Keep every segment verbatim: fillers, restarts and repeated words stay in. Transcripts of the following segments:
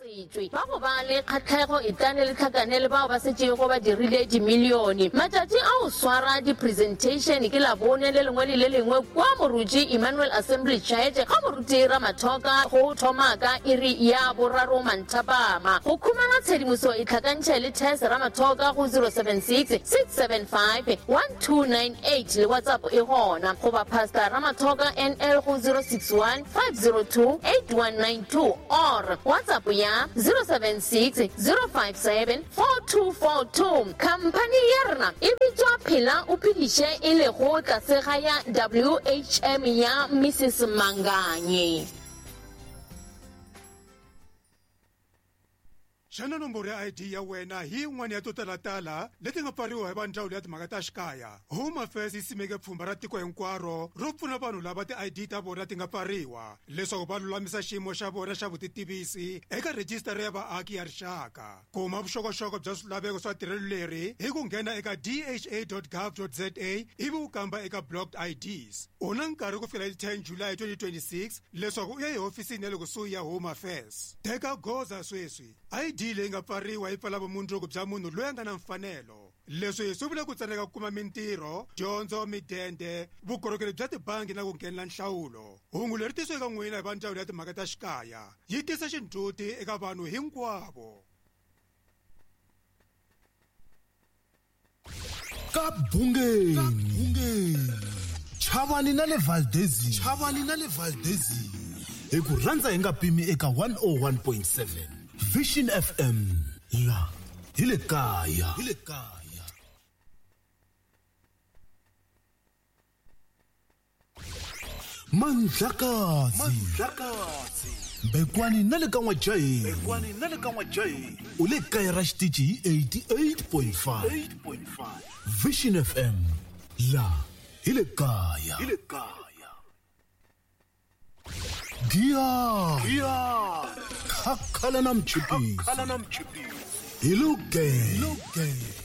Ba go ba le kgatlhego e tlane le tlhakane le bao ba setšego ba dirile dimilione. Matšatši a go swara di-presentation ke Labone le lengwe le le lengwe kwa Moruti Emmanuel Assembly Church ga Moruti Ramathoka go thoma ka iri ya boraro manthapama. Go khumana tshedimoso e tlhakantšhe le Tess Ramathoka go zero seven six, six seven five, one two nine eight le WhatsApp e gona, goba Pastor Ramathoka N L go zero six one, five zero two, eight one nine two or WhatsApp ya zero seven six, zero five seven, four two four two. Khamphani ya rena e bitswa Phela o Phediše e lego tlase ga ya W H M ya Missus Manganye. Xana nomboro ya I D ya wena hi yin'wana ya to talatala leti nga pfariwa hi va ndzawulo ya timhaka ta xikaya? Home Affairs yi simeke pfhumba ra tiko hinkwaro ro pfuna vanhu lava ti I D ta vona ti nga pfariwa leswaku va lulamisa xiyimo xa vona xa vutitivisi eka rhijisitara ya vaaki ya rixaka. Kuma vuxokoxoko bya swilaveko swa tirhelo leri hi ku nghena eka d h a dot gov dot z a ivi u kamba eka blocked I Ds. U na nkarhi ku fikela hi ten July twenty twenty-six leswaku u ya ehofisini ya le kusuhi ya Home Affairs. Teka goza sweswi. I D leyi nga pfariwa yi pfala vumundzuku bya munhu loyi a nga na mfanelo. Leswi swi vula ku tsandzeka ku kuma mintirho, dyondzo, midende, vukorhokeri bya tibangi na ku nghenela nhlawulo. Hungu leri tisiweke eka n'wina hi va ndzawulo ya timhaka ta xikaya yi tisa xindzhuti eka vanhu hinkwavo. Ka Bungeni, Chavani na le Valdezini, Chavani na le Valdezini, hi ku rhandza hi nga pimi eka one oh one point seven. Vision F M la hi le kaya, hi le kaya. Mandlakazi, Mandlakazi, Bekwani na le ka N'wajahi, Bekwani na le ka N'wajahi, u le kaya ra xitichi hi eighty-eight point five, eight point five. Vision F M la hi le kaya, hi le kaya. Gia, Gia, Khakhala na mchipisi, Khakhala na mchipisi, hi luge,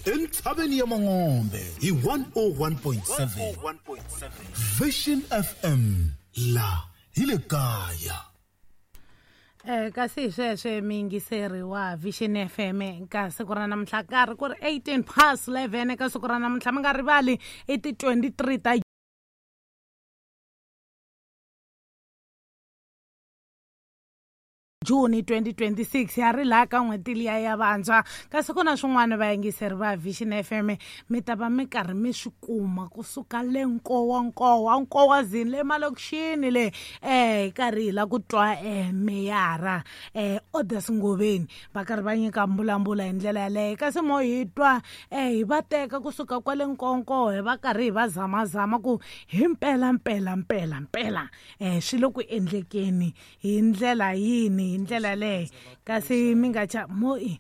entshaveni ya Mangombe hi one oh one point seven, Vision F M la hi le kaya. Eh kasi sweswe miyingiseri wa Vision F M ka siku ra namuntlha karhi ku ri eighteen past eleven ka siku ra namuntlha mi nga rivali i ti twenty-three ta June twenty twenty-six ya ri laha ka n'hweti liya ya vantshwa. Kasi ku na swin'wana vayingiseri va Vision F M mi ta va mi karhi mi swi kuma kusuka le Nkowa Nkowa Nkowazini le malokixini le eh hi karhi hi la ku twa eh meyara eh Odas Ngoveni va karhi va nyika mbulambula hi ndlela yaleyo. Kasi mo hi twa eh hi va teka kusuka kwale Nkonko hi va karhi hi va zamazama ku hi mpela mpela mpela mpela eh swi le ku endlekeni hi ndlela yini hi ndlela leyi. Kasi mi nga cha mo eh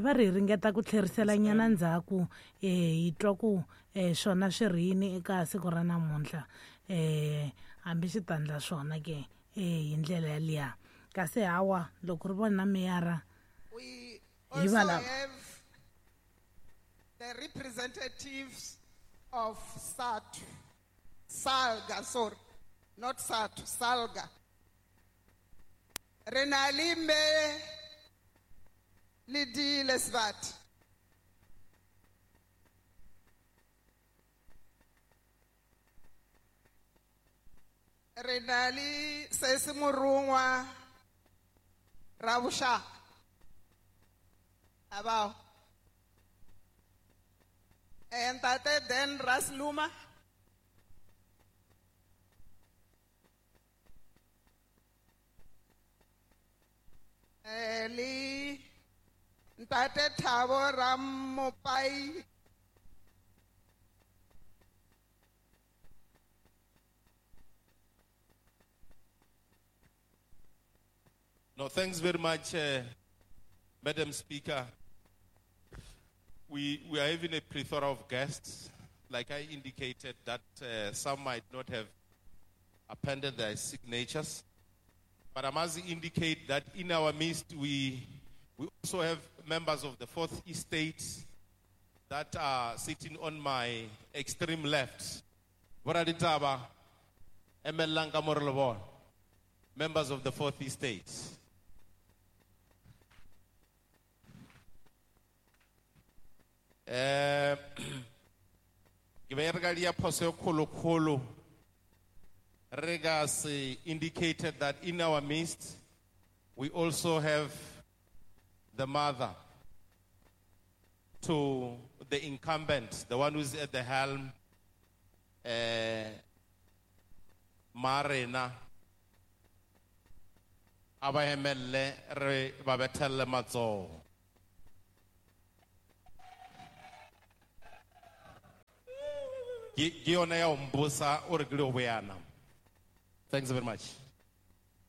va ri ringeta ku tlherisela nyana ndzhaku eh hi twa ku eh swona swi ri yini eka siku ra namuntlha eh hambi swi ta ndla swona ke eh hi ndlela yaliya. Kasi hawa loko ri vona meyara hi va lava. The representatives of S A T U, SALGA, sorry, not S A T U, SALGA. Re na le mme le di Lesbat. Re na le Sesi Morongwa Rabushaka. Abao. Ntate Dan Rasluma. Le Ntate Thabo Ramopai. No, thanks very much, uh, Madam Speaker. We, we are having a plethora of guests. Like I indicated, that uh, some might not have appended their signatures. But I must indicate that in our midst, we, we also have members of the Fourth Estate that are sitting on my extreme left. Boraditaba, Emelanka Morlobon, members of the Fourth Estate. Eh ke be re ka dia phoso e kgolokgolo re ka se indicated that in our midst we also have the mother to the incumbent, the one who's at the helm, eh Marena a ba emelle re ba bethelle matsoho. Ke ke yona ya ho mposa o re ke le ho boyana. Thanks very much.